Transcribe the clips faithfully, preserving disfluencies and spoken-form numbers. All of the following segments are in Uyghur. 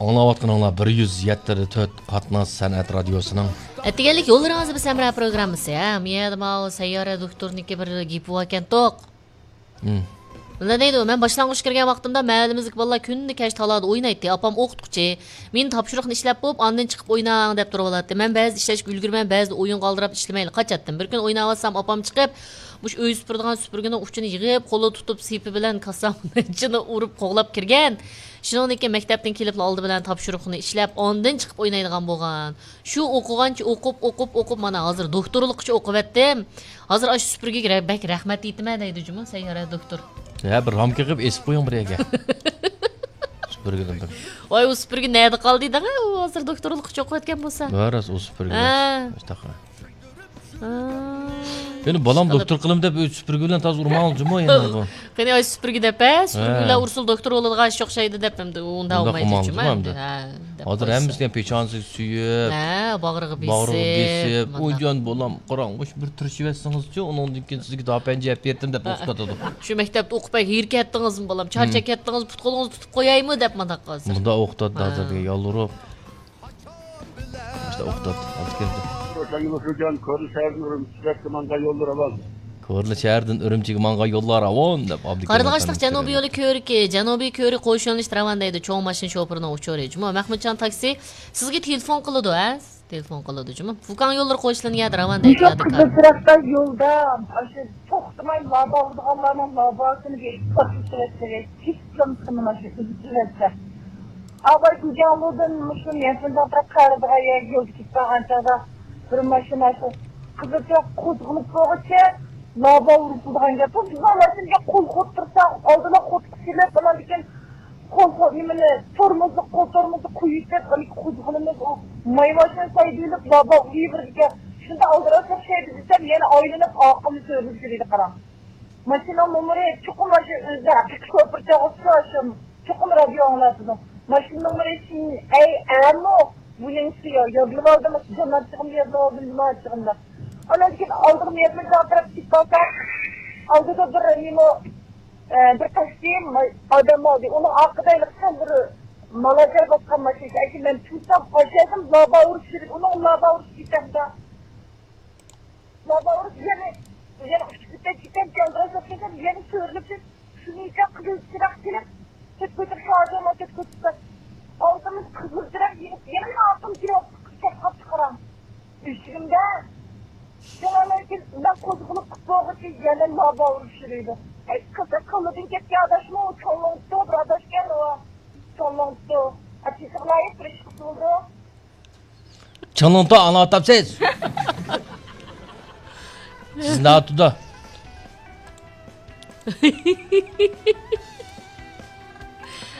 ئاڭلاۋاتقىنىڭلار بىر يۈز يەتتە تۆت قاتناش سەنئەت رادىيوسىنىڭ. ئەتىگەنلىك يوللىرىڭىزدا بىز ھەمراھ پروگراممىسى. ھە، مۇ يەردە ماۋۇ سەييارە دوختۇرنىڭكى بىر گېپى باركەنتۇق. مۇنداق دەيدۇ، مەن باشلانغۇچ كىرگەن ۋاقتىمدا مەھەللىمىزدىكى بالىلار كۈندە كەچ تالادا ئوينايتتى. ئاپام ئوقۇتقۇچى، مېنى تاپشۇرۇقنى ئىشلەپ بوپ، ئاندىن چىقىپ ئويناڭ دەپ تۇرۇۋالاتتى. مەن بەزىدە ئىشلەشكە ئۈلگۈرمەي، بەزىدە ئويۇنغا ئالدىراپ ئىشلىمەيلا قاچاتتىم. بىر كۈنى ئويناۋاتسام، ئاپام چىقىپ، مۇشۇ ئۆي سۈپۈرىدىغان سۈپۈرگىنىڭ ئۇچىنى يىغىپ، قولىدا تۇتۇپ، سېپى بىلەن كاسامنىڭ ئىچىنى ئۇرۇپ قوغلاپ كىرگەن. شۇنىڭدىن كېيىن مەكتەپتىن كېلىپلا ئالدى بىلەن تاپشۇرۇقنى ئىشلەپ، ئاندىن چىقىپ ئوينايدىغان بولغان. شۇ ئوقۇغانچە ئوقۇپ، ئوقۇپ، ئوقۇپ، مانا ھازىر دوختۇرلۇققىچە ئوقۇۋەتتىم. ھازىر ئاشۇ سۈپۈرگىگە رە-، بەك رەھمەت ئېيتىمەن دەيدۇ جۇمۇ سەييارە دوختۇر. ھە، بىر رامكا قىلىپ ئېسىپ قويۇڭ بىر يەرگە. سۈپۈرگىدىن بىر. ۋاي، ئۇ سۈپۈرگە نەدە قالدى دەڭە؟ ئۇ ھازىر دوختۇرلۇققىچە ئوقۇۋەتكەن بولسا. ھە، راست، ئۇ سۈپۈرگە. ھە. مۇشتاق. ھە. يەنە بالام دوختۇر قىلىم دەپ ئۆز سۈپۈرگە بىلەن تازا ئۇرماڭ جۇمۇ يەنە بۇ. قېنى ئاي سۈپۈرگە دەپ، ھە؟ سۈپۈرگە بىلەن ئۇرسىلا دوختۇر بولىدىغان ئىش ئوخشايدۇ دەپ ئەمدى ئۇنداق ئۇنداق بولمايدۇ ئۇرماڭ جۇمۇ ئەمدى. ھە، دەپ ھازىر قويسا. ھەممىسىگە پېشانىسىگە سۆيۈپ، ھە، باغرىغا باغرىغا بېسىپ، بېسىپ، مانا. ئۇيجان بالام، قاراڭ، مۇشۇ بىر تىرىشىۋەتسىڭىزچۇ، ئۇنىڭدىن كېيىن سىزگە داپەنجە ئەپ بېرىتتىم دەپ ھە. توختىتىدۇ. شۇ مەكتەپتە ئوقۇپ ھېرىپ كەتتىڭىزمۇ بالام، چارچاپ كەتتىڭىزمۇ، پۇت قولىڭىزنى تۇتۇپ قويايمۇ دەپ مانداق قىلسا. مۇنداق ئوقۇتاتتى ھە. ھازىرغىچە يالۋۇرۇپ. مۇشۇنداق ئوقۇتاتتى، ھازىر كەلدى. روشەنگۈل ئۇكىجان، كورلا شەھەردىن ئۈرۈمچىگە ماڭغان يوللار راۋان. كورلا شەھەردىن ئۈرۈمچىگە ماڭغان يوللار راۋان دەپ ئابدۇكېرىم قارلىغاچلىق ئەپەندىمىز جەنۇبىي كۆرۈۋېتىپتۇ. يولى كۆۋرۈكى، جەنۇبىي كۆۋرۈك قوش يۆنىلىشتە راۋان دەيدۇ، چوڭ ماشىنا شوپۇرىنىڭ ئۇچۇرى. جۇمۇ مەخمۇتجان تاكسى سىزگە تېلېفون قىلىدۇ، ھە؟ تېلېفون قىلىدۇ جۇمۇ. فۇكاڭ يوللىرى قوشۇلىدۇ يەردە راۋان دەيدۇ مۇشۇ يادىكار. قىزىل چىراغدا يولدا ئاشۇ توختىماي لابا ئۇرىدىغانلارنىڭ لاباسىنى بېرىپ پارتلىتىۋەتسە، كېسىپ سالمىسىمۇ ماشىنا ئۈزۈپ جىۋەتسە. ئاۋاي گۇجياڭلۇدىن مۇشۇ يەنسىنداڭ تەرەپ قارىدىغان يەرگە يولدا كېتىپ بارغان چاغدا بىر ماشىنا شۇ قىزىل چىراغ قوزغىلىپ بولغۇچە لابا ئۇرۇپ تۇرىدىغان گەپ. بىز ماشىنىغا قول قوتتۇرساق ئالدىلا قوتقا سېلىپ ئاناندىن كېيىن قول، قول، نېمىنى، تورمۇزنى، قول تورمۇزنى قويۇۋېتىپ، ئاندىن قوزغىلىمىز، ئۇ ماي ماشىنا سايدىۋېلىپ، لابا ئۇرۇۋېرىدىكەن. شۇنداق ئالدىراش ئوخشايدۇ دېسەم، يەنە ئايلىنىپ ئارقىمنى سۆرىلىپ يۈرىدۇ، قاراڭ. ماشىنىنىڭ نومۇرى چوقۇم ماشىنا ئۆزىدە ھەقىقىي شوپۇر چاغىسى شۇ، چوقۇم رادىيو ئاڭلاتىدۇ. ماشىنا نومۇرى شىن ئەي ئەمۇ بۇنىڭكى يا-، يادلىۋالدىم، جانابچىغىم يادلىۋالدىم، جۇمائەتچىغىم دەپ. ئاندىن كېيىن ئالدىغا مېيەتمەن چاقىرىپ كېتىپ قالسا، ئالدىدا بىر نېمە ئە، بىر تاكسى ئادەم ئالدى. ئۇنىڭ ئارقىدا ھېلىقى سەل بىر مالاجار باسقان ماشىنا. ئەكى مەن تۇرسام، ئاشۇ يەردىن لابا ئۇرۇش كېلىپ، ئۇنىڭ لابا ئۇرۇش كېتەمدۇ؟ لابا ئۇرۇش يەنە، يەنە ئۇچۇپ كېتەم، كېتەم، جاندىراش بولۇپ كېتەم، يەنە سۆرىلىپ كېتىپ، شۇنىڭچە قىزىل چىراغ كېلىپ، كېتىپ كېتىپ، شۇ ئادەم كېتىپ كېتىپ، ئالدىمىز قىزىل چىراغ يېنىپ، يەنە ئارقىم كېلىپ، كېتىپ قاپتۇ، قاراڭ. ئۆچۈرۈمدە شۇڭا لېكىن مەن قوزغىلىپ قىپتۇغۇچى يەنە لابا ئۇرۇشۇرىدۇ. ئەي، قىزىق قولىدىن كەتكەن ئاداشمۇ چوڭلۇقتۇ، بىر ئاداشكەن ئۇ. چوڭلۇقتۇ. ئەتىسىغىلايىپ بىر ئىش قىلدى. چوڭلۇقتۇ ئاڭلاۋاتامسىز؟ سىز ناتۇدا.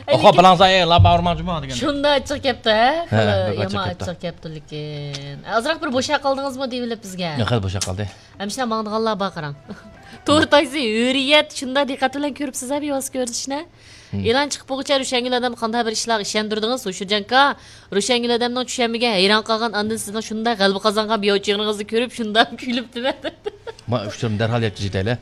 ئوخو، بىلاڭزا، ئەي، لابا ئۇرماڭ جۇمۇ دېگەن. شۇنداق ئاچچىق كەپتۇ، ھە؟ ھە، خېلى بەك ئاچچىق يامان كەپتۇ. ئاچچىق كەپتۇ لېكىن. ئازراق بىر بوشاپ قالدىڭىزمۇ دېيىۋېلىپ بىزگە. ياق، خېلى بوشاپ قالدى. ئەمىسە ماڭىدىغانلار بار قاراڭ. تور تايسى، ھۆرىيەت، شۇنداق دىققەت بىلەن كۆرۈپسىز ھە بىۋاسىتە كۆرسىتىشنى. مم. ئېلان چىقىپ بولغۇچە روشەنگۈل ئادەم قانداق بىر ئىشلارغا ئىشەندۈردىڭىز، ھوشۇرجان ئاكا؟ روشەنگۈل ئادەمنىڭ چۈشەنمىگەن، ھەيران قالغان، ئاندىن سىزنىڭ شۇنداق غەلىبە قازانغان بىئاۋچىلىقىڭىزنى كۆرۈپ شۇنداق كۈلۈپتىمەن. ما ئۇچۇرنى دەرھال يەتكۈزۈپ كېتەيلى.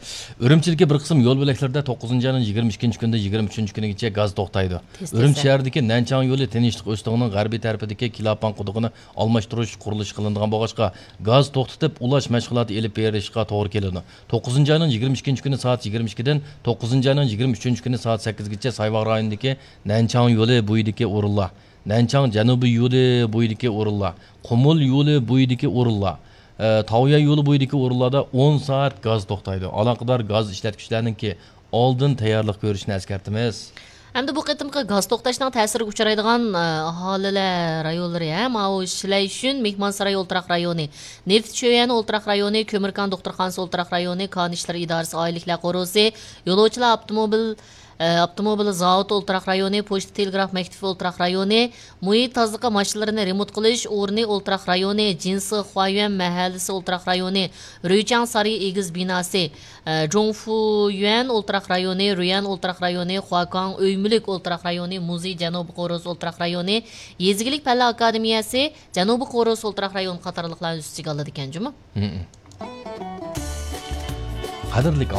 ئۈرۈمچىدىكى بىر قىسىم يول بۆلەكلىرىدە توققۇزىنچى ئاينىڭ يىگىرمە ئىككىنچى كۈنىدىن يىگىرمە ئۈچىنچى كۈنىگىچە گاز توختايدۇ. تېز، ئۈرۈمچى تېز، ھە. شەھىرىدىكى نەنچاڭ يولى تىنچلىق ئۆستىڭىنىڭ غەربىي تەرىپىدىكى كىلاباڭ قۇدۇقىنى ئالماشتۇرۇش قۇرۇلۇشى قىلىنىدىغان بولغاچقا، گاز توختىتىپ ئۇلاش مەشغۇلاتى ئېلىپ بېرىشقا توغرا كېلىدۇ. توققۇزىنچى ئاينىڭ يىگىرمە ئىككىنچى كۈنى سائەت يىگىرمە ئىككىدىن توققۇزىنچى ئاينىڭ يىگىرمە ئۈچىنچى كۈنى سائەت سەككىزگىچە سايۋاغ رايونىدىكى نەنچاڭ يولى بويىدىكى ئورۇنلار، نەنچاڭ جەنۇبىي يولى بويىدىكى ئورۇنلار، قۇمۇل يولى بويىدىكى ئورۇنلار، ئە، تاۋيا يولى بويىدىكى ئورۇنلاردا ئون سائەت گاز توختايدۇ. ئالاقىدار گاز ئىشلەتكۈچىلەرنىڭكى ئالدىن تەييارلىق كۆرۈشىنى ئەسكەرتىمىز. ئەمدى بۇ قېتىمقى گاز توختاشنىڭ تەسىرىگە ئۇچرايدىغان، ئە، ئاھالىلەر رايونلىرى، ھە، ماۋۇ شىلەيشۈن، مېھمانساراي ئولتۇراق رايونى، نېفىت شۆيۈەن ئولتۇراق رايونى، كۆمۈركان دوختۇرخانىسى ئولتۇراق رايونى، كان ئىشلىرى ئىدارىسى ئائىلىلىكلەر قورۇسى، يولۇچىلار ئاپتوموبىل، ئە، ئاپتوموبىل زاۋۇتى ئولتۇراق رايونى، پوچتا تېلېگراف مەكتىپى ئولتۇراق رايونى، مۇھىت تازىلىقى ماشىنىلىرىنى رېمونت قىلىش ئورنى ئولتۇراق رايونى، جىنسى خۇايۈەن مەھەللىسى ئولتۇراق رايونى، رۇيچاڭ سارىيى ئېگىز بىناسى، ئە، جۇڭفۇيۈەن ئولتۇراق رايونى، رۇيەن ئولتۇراق رايونى، خۇاكاڭ ئۆي مۈلۈك ئولتۇراق رايونى، مۇزېي جەنۇبىي قورۇس ئولتۇراق رايونى، يېزا ئىگىلىك پەنلەر ئاكادېمىيەسى، جەنۇبىي قورۇس ئولتۇراق رايونى قاتارلىقلارنى ئۈستىگە ئالىدىكەن جۇمۇ. قەدىرلىك